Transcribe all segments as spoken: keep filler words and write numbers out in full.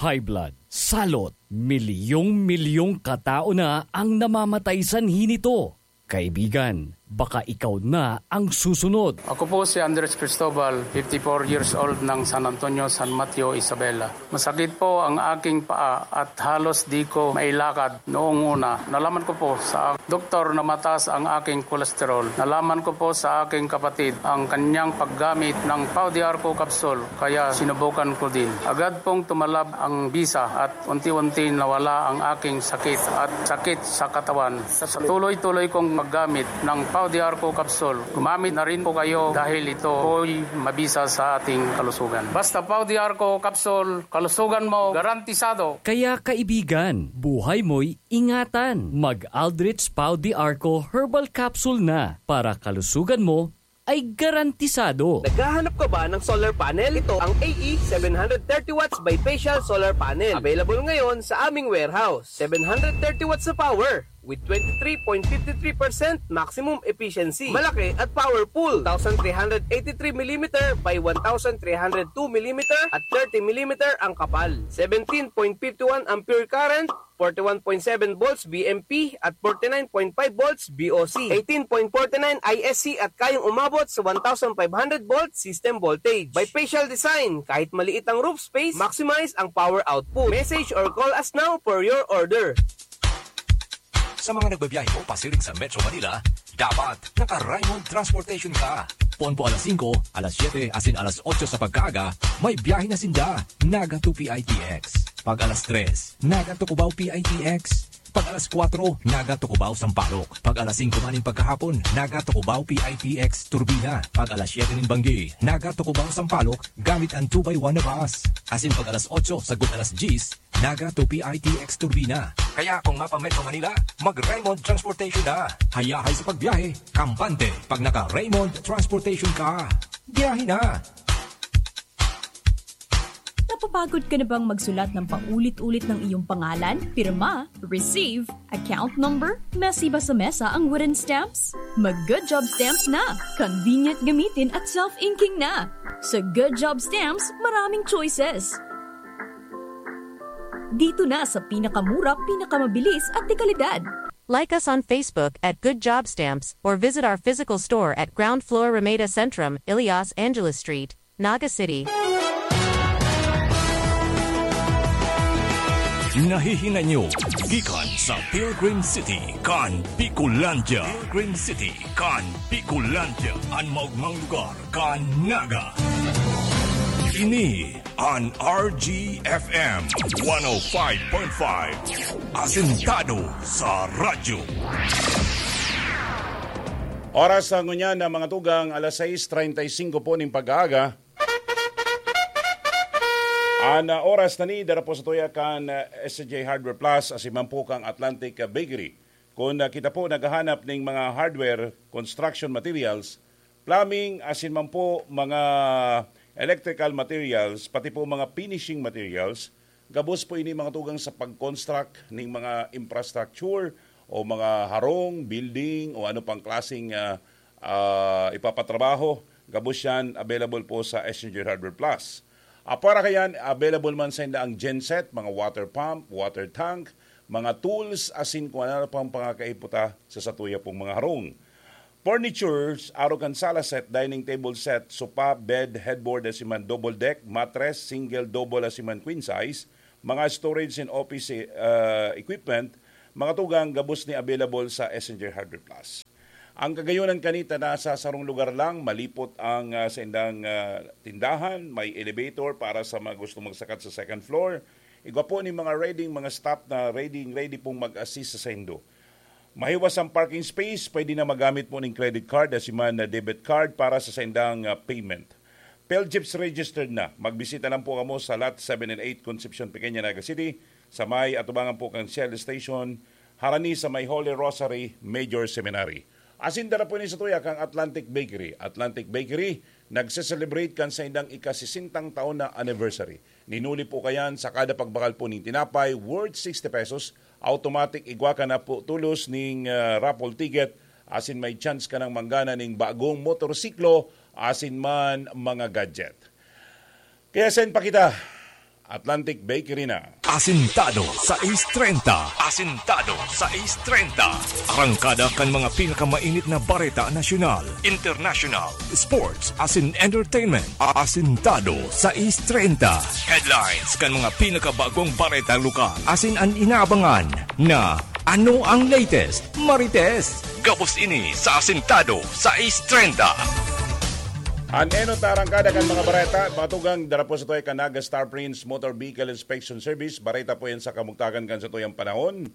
high blood, salot, milyong-milyong katao na ang namamatay sanhi nito. Kaibigan, baka ikaw na ang susunod. Ako po si Andres Cristobal, fifty-four years old, ng San Antonio, San Mateo, Isabela. Masakit po ang aking paa at halos di ko mailakad noong una. Nalaman ko po sa doktor na mataas ang aking kolesterol. Nalaman ko po sa aking kapatid ang kanyang paggamit ng Pau de Arco capsule, kaya sinubukan ko din. Agad pong tumalab ang bisa at unti-unti nawala ang aking sakit at sakit sa katawan. Sa tuloy-tuloy kong paggamit ng Pau de Arco capsule, gumamit na rin po kayo dahil ito po'y mabisa sa ating kalusugan. Basta Pau de Arco capsule, kalusugan mo garantisado. Kaya kaibigan, buhay mo'y ingatan. Mag-Aldrich Pau de Arco Herbal Capsule na para kalusugan mo ay garantisado. Naghahanap ka ba ng solar panel? Ito ang A E seven hundred thirty watts bifacial solar panel. Available ngayon sa aming warehouse. Seven hundred thirty watts na power with twenty-three point fifty-three percent maximum efficiency. Malaki at powerful. Two thousand three hundred eighty-three millimeter by one thousand three hundred two millimeter at thirty millimeter ang kapal. Seventeen point fifty-one ampere current, forty-one point seven volts B M P at forty-nine point five volts B O C, eighteen point forty-nine I S C at kayang umabot sa one thousand five hundred volt system voltage. Bifacial design, kahit maliit ang roof space, maximize ang power output. Message or call us now for your order. Sa mga nagbabiyahe po pasiring sa Metro Manila, dapat naka-Raymond Transportation ka. Pon po alas singko, alas siyete, asin alas otso sa pagkaaga, may biyahe na sinda. Naga to P I T X. Pag alas tres, Naga to Cubao P I T X. Pag alas kwatro, Naga to Cubao Sampaloc. Pag alas singko man nin pagkahapon, Naga to Cubao P I T X Turbina. Pag alas siyete nin banggi, Naga to Cubao Sampaloc, gamit ang two by one na bus. Asin pag alas otso sagkod alas diyes, Naga to P I T X Turbina. Kaya kung mapa-Metro Manila, mag-Raymond Transportation na. Hayahay sa pagbiyahe, kampante pag naka-Raymond Transportation ka. Biyahe na! Napapagod ka na bang magsulat ng paulit-ulit ng iyong pangalan, pirma, receive, account number, mesiba sa mesa ang wooden stamps? Mag Good Job Stamps na! Convenient gamitin at self-inking na! Sa Good Job Stamps, maraming choices. Dito na sa pinakamura, pinakamabilis at dekalidad. Like us on Facebook at Good Job Stamps or visit our physical store at ground floor Ramada Centrum, Elias Angeles Street, Naga City. Nahihinay nyo gikan sa Pilgrim City kan Bicolandia. Pilgrim City kan Bicolandia, an maogmang lugar kan Naga. Ini an R G F M one oh five point five, asentado sa radyo. Oras na ngunyan na mga tugang, alas sais treinta y cinco po ning pag-aaga. An, ah, oras na ni dara po sa tuya kan, ah, S J Hardware Plus, asin man po kan Atlantic, ah, Bakery. Kung, ah, kita po naghahanap ning mga hardware, construction materials, plumbing, asin man po mga electrical materials, pati po mga finishing materials, gabos po ini mga tugang sa pag-construct ning mga infrastructure o mga harong, building, o ano pang klaseng, ah, ah, ipapatrabaho, gabos yan available po sa Essenger Hardware Plus. Apara kayan, available man sa inda ang genset, mga water pump, water tank, mga tools, asin kung ano pang pangakaiputa sa satuya pong mga harong. Furnitures, arog kan sala set, dining table set, sopa, bed, headboard, asin man double deck, mattress, single, double, asin man queen size, mga storage and office, eh, equipment, mga tugang gabos ni available sa Essenger Hardware Plus. Ang kagayonan kanita nasa sarong lugar lang, malipot ang, ah, saindang, ah, tindahan, may elevator para sa mga gustong magsakat sa second floor. Igwa po ni mga ready, mga staff na ready, ready pong mag-assist sa saindo. Mahiwas ang parking space, pwede na magamit po ning credit card, asin man na debit card para sa saindang, ah, payment. Philjeeps registered na. Magbisita lang po kamo sa Lot seven and eight, Concepcion, Pequeña, Naga City, sa may atubangan po kan Shell Station, harani sa may Holy Rosary Major Seminary. Asin dara po ni sa tuya kang Atlantic Bakery. Atlantic Bakery, nagse-celebrate kan saindang ika-sesentang taon na anniversary. Ninuli po kayan sa kada pagbakal po ning tinapay worth sixty pesos, automatic igwa ka na po tulos ning, ah, raffle ticket, asin may chance ka nang manggana ning bagong motorsiklo, asin man mga gadget. Kaya send pa kita. Atlantic Bakery na. Asintado sais treinta. Asintado sais treinta. Arangkada kan mga pinakamainit na bareta nasyonal, international, sports, asin entertainment. Asintado sais treinta. Headlines kan mga pinakabagong bareta lokal. Asin an inaabangan na ano ang latest, Marites. Gabos ini sa Asintado sais treinta. An enot na arangkada kan mga bareta, mga tugang, dara po sa tuya kan Naga Star Prince Motor Vehicle Inspection Service. Bareta po yan sa kamugtakan kan sa tuyang panahon.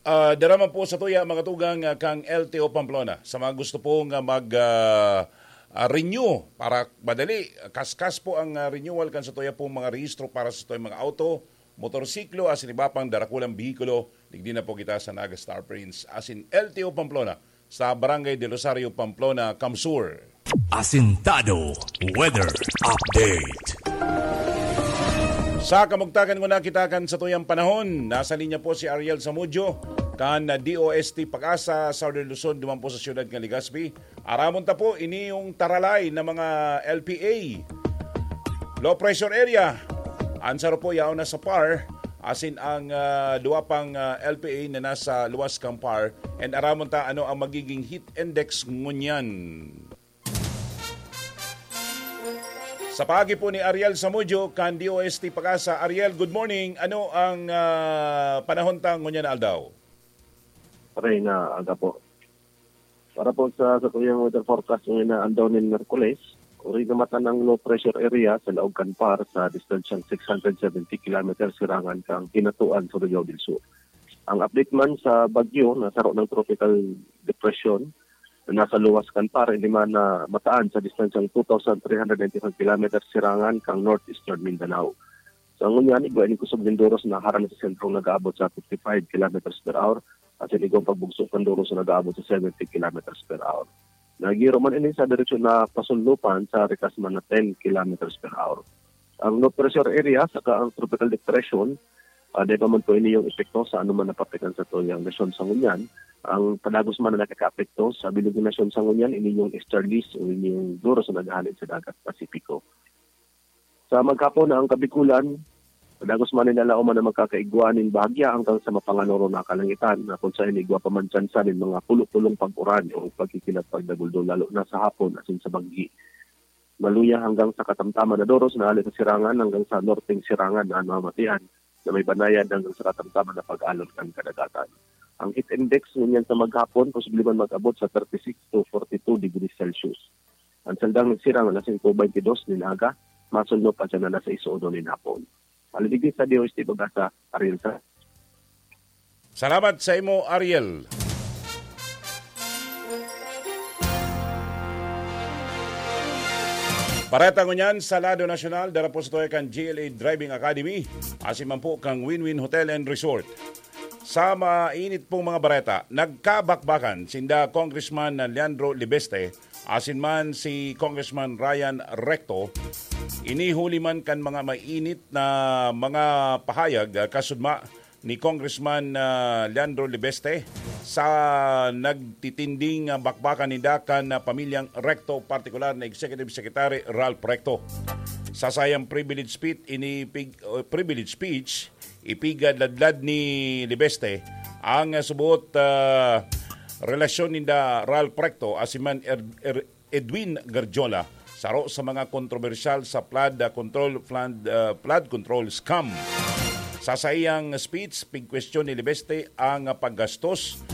Ah, dara man po sa tuya, mga tugang, ah, kang L T O Pamplona. Sa mga gusto pong, ah, mag, ah, ah, renew, para madali, kaskas po ang, ah, renewal kan sa tuya pong mga rehistro para sa tuyang mga auto, motorsiklo, asin iba pang darakulang behikulo, digdi na po kita sa Naga Star Prince, asin L T O Pamplona, sa Barangay del Rosario, Pamplona, Kamsur. Asintado Weather Update. Sa kamugtakan nguna kita kan sa tuyang panahon, nasa linya po si Ariel Samudio, kan D O S T Pag-asa, Southern Luzon, duman po sa siyudad kan Legazpi. Aramon ta po, ini yung taralay na mga L P A. Low pressure area. An saro po, yaon na sa par. Asin ang, ah, duwa pang, ah, L P A na nasa luwas kan par. And aramon ta ano ang magiging heat index ngunyan. Sa paagi po ni Ariel Samudio, kan D O S T Pag-asa. Ariel, good morning. Ano ang, ah, panahon ta ngunyan na aldaw? Pare na aga po. Para po sa satuyang weather forecast ngayon na aldaw nin Miyerkules, uri na matan ang low pressure area sa laog kan par sa distansyang six hundred seventy kilometers sirangan kan Cainatuan, Surigao del Sur. Ang update man sa bagyo na saro ng tropical depression na nasa luwas kan par, ini man na mataan sa distansyang two thousand three hundred ninety-five kilometers sirangan kan northeastern Mindanao. Sa ngunyan, igwa ining kusog nin doros na harani sa sentrong nag-aabot sa fifty-five kilometers per hour, asin igwang pagbugso kan doros na nag-aabot sa seventy kilometers per hour. Nagiro man ini sa direksyon na pasunlopan sa rikas man na ten kilometers per hour. Ang low pressure area saka ang tropical depression, ah, dai pa man po ini yung epekto sa anuman na parte kan satuyang nasyon sa ngunyan. Ang padagos man na nakakaapekto sa bilog na nasyon sa ngunyan, ini yung easterlies o ini yung doros na naghahalin sa dagat Pasipiko. Sa maghapon na ang Kabikulan, padagos man nin alauman na magkakaigwa nin bahagya hanggang sa mapanganoro na kalangitan, na kung saen igwa pa man tsansa nin mga pulo-pulong pag-uran o pagkikilat pagdaguldol, lalo na sa hapon asin sa banggi. Maluya hanggang sa katamtaman na doros na hali sa sirangan hanggang sa norteng sirangan na namamatian na may banayad hanggang sa katamtaman na pag-alon kan kadagatan. Ang heat index ngunyan sa maghapon posible man mag-abot sa thirty-six to forty-two degrees Celsius. Ang saldang nagsirang alas singko beintidos nin aga, masunod pa siya na alas sais uno nin hapon. Hali digdi sa D O S T Pag-asa, Ariel sa Salamat sa imo, Ariel. Bareta ngunyan sa lado nasyonal, dara po sa tuya kan G L A Driving Academy, asin man po kan Win-Win Hotel and Resort. Sa mainit pong mga bareta, nagkabakbakan sinda Congressman Leandro Libeste asin man si Congressman Ryan Recto. Ini huli man kan mga mainit na mga pahayag, ah, kasudma ni Congressman, ah, Leandro Libeste sa nagtitinding, ah, bakbakan ninda kan, ah, pamilyang Recto, partikular na Executive Secretary Ralph Recto. Sa sayang privilege speech, ini pig-, uh, privilege speech, ipigadladlad ni Libeste ang, ah, subot, ah, relasyon ninda Ralph Recto asin man Er-, Er-, Edwin Garjola, saro sa mga kontrobersyal sa flood, ah, control, flood, ah, flood control scam. Sa saiyang speech, pigkwestiyon ni Libeste ang, ah, paggastos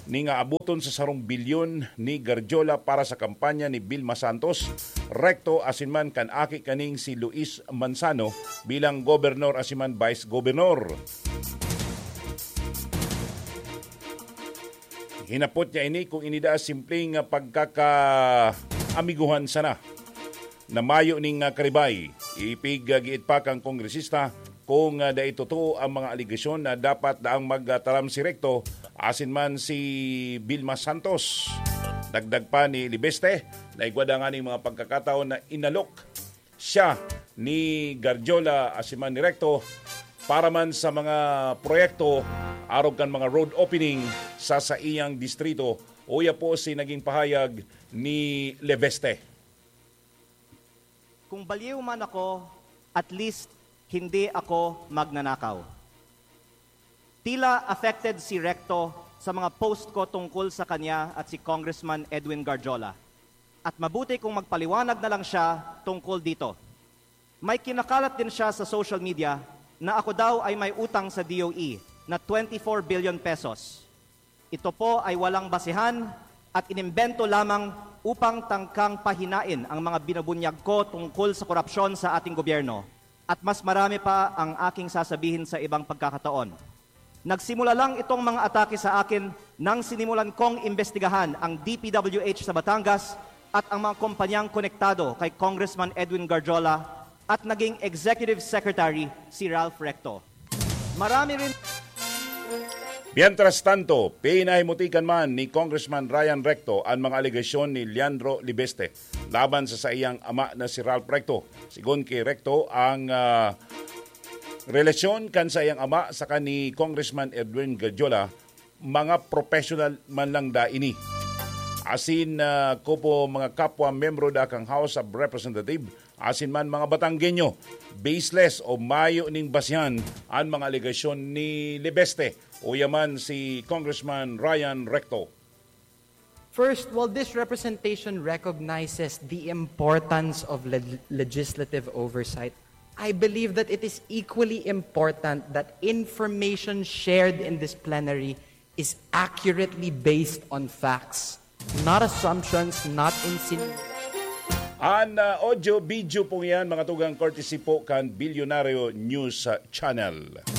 ning aaboton sa sarong bilyon ni Garjola para sa kampanya ni Vilma Santos, Recto asin man kan aki kaning si Luis Manzano bilang gobernador asin man vice governor. Hinapot niya ini kung ini daa simpleng pagkakaamiguhan sana na mayo ning, ah, karibay. Ipiggiit pa kan kongresista kung, ah, dai totoo ang mga alegasyon na dapat daang magtaram si Recto asin man si Vilma Santos. Dagdag pa ni Libeste na igwa da nganing mga pagkakataon na inalok siya ni Garjola asin man ni Recto para man sa mga proyekto arog kan mga road opening sa saiyang distrito. Uya po si naging pahayag ni Libeste. Kung baliw man ako, At least, hindi ako magnanakaw. Tila affected si Recto sa mga post ko tungkol sa kanya at si Congressman Edwin Garjola. At mabuti kung magpaliwanag na lang siya tungkol dito. May kinakalat din siya sa social media na ako daw ay may utang sa D O E na twenty-four billion pesos. Ito po ay walang basehan at inimbento lamang upang tangkang pahinain ang mga binubunyag ko tungkol sa korupsyon sa ating gobyerno. At mas marami pa ang aking sasabihin sa ibang pagkakataon. Nagsimula lang itong mga atake sa akin nang sinimulan kong imbestigahan ang D P W H sa Batangas at ang mga kompanyang konektado kay Congressman Edwin Garjola at naging executive secretary si Ralph Recto. Marami rin Mientras tanto, pinahimutikan man ni Congressman Ryan Recto an mga alegasyon ni Leandro Libeste laban sa saiyang ama na si Ralph Recto. Sigon ki Recto, ang ah, relasyon kan saiyang ama saka ni Congressman Edwin Garjola, mga professional man lang da ini. Asin ah, kopo mga kapwa membro da kan House of Representative, asin man mga Batanggenyo, baseless o mayo ning basihan an mga alegasyon ni Libeste o yaman si Congressman Ryan Recto. First, while this representation recognizes the importance of le- legislative oversight, I believe that it is equally important that information shared in this plenary is accurately based on facts, not assumptions, not insinuations. An ah, audio-video pong yan, mga tugang, courtesy po kan Bilyonaryo News ah, Channel.